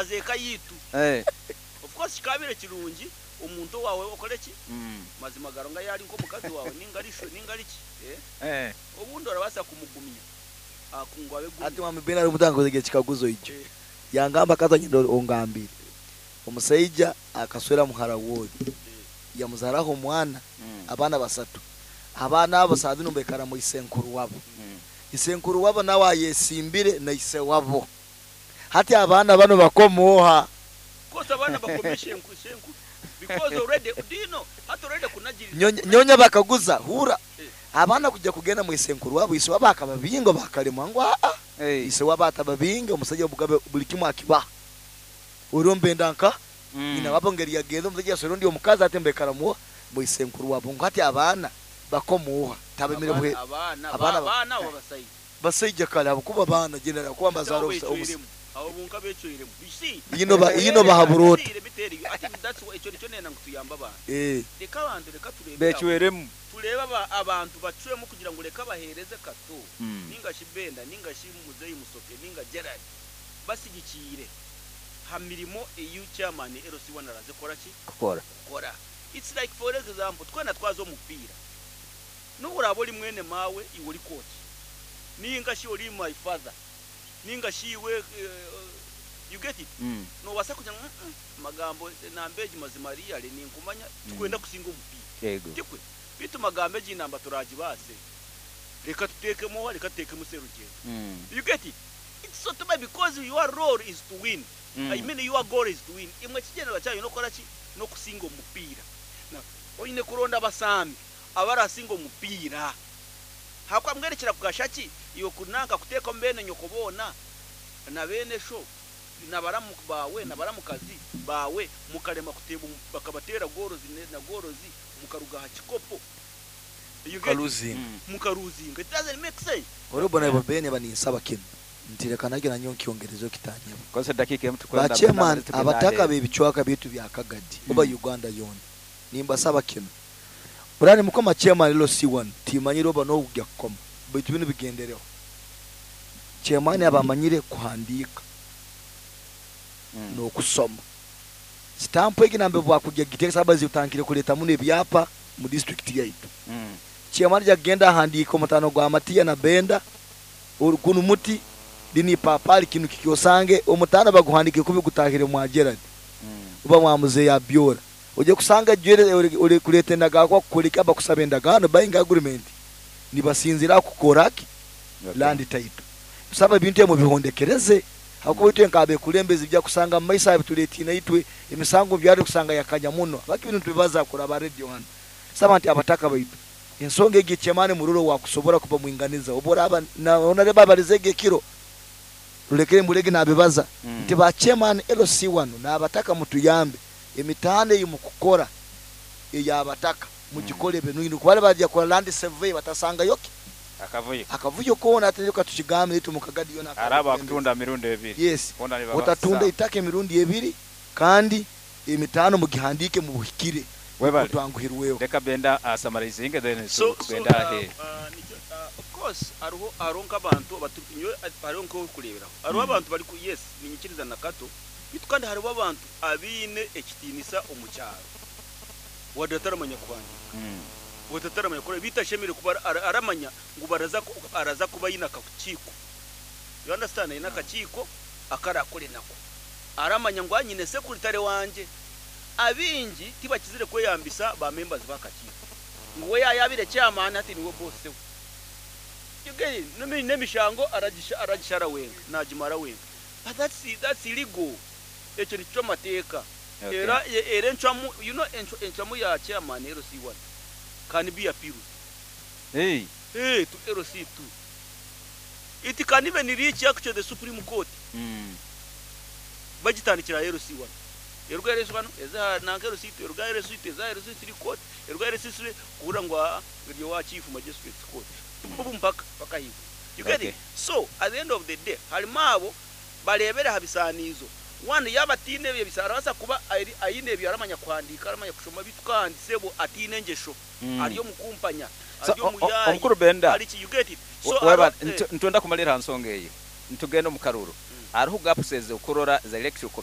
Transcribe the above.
Twaza eka yaitu. Of course kikabaire kirungi omuntu owaawe okore ki? Mazima ga Ruhanga yaaba ari nk'omukazi waawe ninga ari sho ninga ari ki, eh, obundi orabaasa kumugumya ngu abe Hati gumya. Mwami Ben hariho omuntu ankoze ekikaguzo ijo. Yangamba akaza nyenda ongambire. Omusaija akaswera muhara w'ori yamuzaraho omwana, abaana basatu. Abaana abo saaha zinu nibaikara mwa isenkuru wabo. Isenkuru wabo nawe ayesimbire na ise wabo. Hati abaana banu bakoma oha? Of course abaana bakoma ishenkuru ishenkuru because already do you know hati already kunagiriza Nyonya bakaguza, hurra, abaana kujya kugenda mwa isenkuru wabo, ise wabo akababinga bakaremwa ngu aa, ise wabo atababinge, omusaija obugabe buli kimu akibaha. Oriyo nibenda nka nyina wabo ngeri yagenze omusaija yaswera ondi omukazi hati nibaikara mwa isenkuru wabo ngu hati abaana bakoma oha? Tabemere Abaana abaana abaana abaana abo basaija. Basaija kare ahabw'okuba baana general kuba Hati mbazaara abo obusa obusa. becweiremu abo bonka becweiremu you see Ino ba ino let bahabura me ota? let me tell you ati that's why ekyo nikyo nenda ngu tuyambe abantu leka abantu leka turebere aho Becweremu. turebe aba abantu bacwemu kugira ngu leka bahereze Kato ninga shi Benda ninga shi Muzeyi Musoke ninga Gerald basigikiire ha mirimo eyi chairman LC1 araze kukora ki? Kukora. Kukora. It's like for example twena twaza omu mupiira N'obu oraabe ori mwene maawe, iwe ori coach, ninga shi ori my father, ninga shi iwe, you get it? Noobaasa kugira ngu umm magambo enamba egi mazima really ninkumanya tikwenda kusinga omupiira. Tikwe? Beitu magambo egi namba turaagibaase, reka tuteekemu oha, reka tuteekemu Serugendo. You get it? It's so too bad because your role is to win, I mean your goal is to win. Imwe ekigyendererwa kyanyu n'okukora ki? N'okusinga omupiira. Now oine kuronda abasambi abarasinga omupiira. Ahakuba mbwenu kirakugasha ki iwe ku nanka kuteekamu beene nyoko boona, na beene sho, na baramu baawe, na baramukazi baawe, mukarema kuteeba omu, bakabateera goorozi na goorozi, mukaruga aha kikopo? You get it? Mukaluzinga. Mukaruzinga. It doesn't make sense. Ori bona Ben eba ninsaba kinu nti reka nagyo nanyowe nkyongerezeho kitanyeba. Kozesa edakiika emu Ba tukwenda nambere chairman tugenda abataka aheeru. b'ebicwaka byaitu bya Kagadi oba Uganda yoona nimbasaba kinu Burani mukoma chairman LC1 timanyire oba nogya kukoma baitu binu bigendereho chairman aba amanyire kuhandiika nokusoma sitampu egi nambere bwakugya kugiteeka sababu zitandikire kuleta muno ebyapa mu district yaitu chairman aja kugenda ahandiike omutano gwa Matiya na Benda gunu muti linu ipapali kinu kiki osange omutano baguhandikire kubi gutahire mwa Gerald oba mwa muzeeyi Abiola Oija kusanga ejwere ori kureeta endagaano ku bakukora eki abakusaba endagaano, buying agreement, nibasinziira aha kukora ki? Land title. Tusaba ebintu ebyo mubihondekereze ahakuba itwe nk'abekulembezi bija kusanga mu maiso aha bitureetiine itwe emisango omu byaro kusanga yakanya muno. Habwaki binu nitubibaza kuraba radio hanu? Tusaba nti abataka baitu ensonga egi chairman murole owakusobora kuba mwinganiza obu oraaba na onareba abarizeege ekiro rulekere mbulege nabibaza nti ba chairman LC wanu n'abataka mutuyambe Emitaano ei mukukora ey'abataka mugikore ebe nungi nukwo bali baija kukora land survey batasangayo ki? Akavuyo. Akavuyo koona hati reka tukigambe itwe omu Kagadi yoona Hariho nk'abekulembezi. abakutunda mirundi ebiri. Yes, Boona otatunda nibabaasa. itaka emirundi ebiri kandi emitaano mugihandiike mubuhikire nukwo Webale. twanguhirweho. Leka Benda a summarizing then So so tugende aheeru. Nikyo of course hariho hariho nk'abantu abatu nyowe hariho nk'okureeberaho hariho abantu bari yes niinyikiriza na Kato Beitu kandi hariho abantu abaine ekitiinisa omu kyaro wadde ataramanya kuhandiika, wadde ataramanya kukora, beitu ashemereire kuba aramanya ngu baraza araza kuba aine akakiiko, you understand, aine akakiiko aku arakore nako, aramanya ngu nyine sekuritare wangye. Abaingi tibakizire kweyambisa ba members b'akakiiko ngu we yaayabaire chairman hati niwe boss we. You get it? N'emishango aragishara wenka, naagimara wenka. But that's that's illegal ekyo nikicwa amateeka era era encwamu you know encwamu ya chairman LC1 can be appealed Hey. eh to LC2 it can even reach actually the supreme court bagitandikira aha LC1 eruga aha LC1 eze aha nanka LC2 eruga aha LC2 eze aha LC3 court eruga aha LC3 kuhurira ngu aa eri owa chief magistrate court mpaka mpaka ahaiguru You get it? So at the end of the day harimu abo bareebera aha bisaaniizo. One yaaba ataine ebyo bisaaniizo arabaasa kuba aine ebyo aramanya kuhandiika aramanya kushoma beitu kandi sebo ataine engyesho ari omukumpanya So ari omuyaayi omukuru Benda ari ki you get it? So webale hariho nitwenda kumalira aha nsonga eyo nitugenda omu karuuru. Hariho gaps ezi okurora za electoral.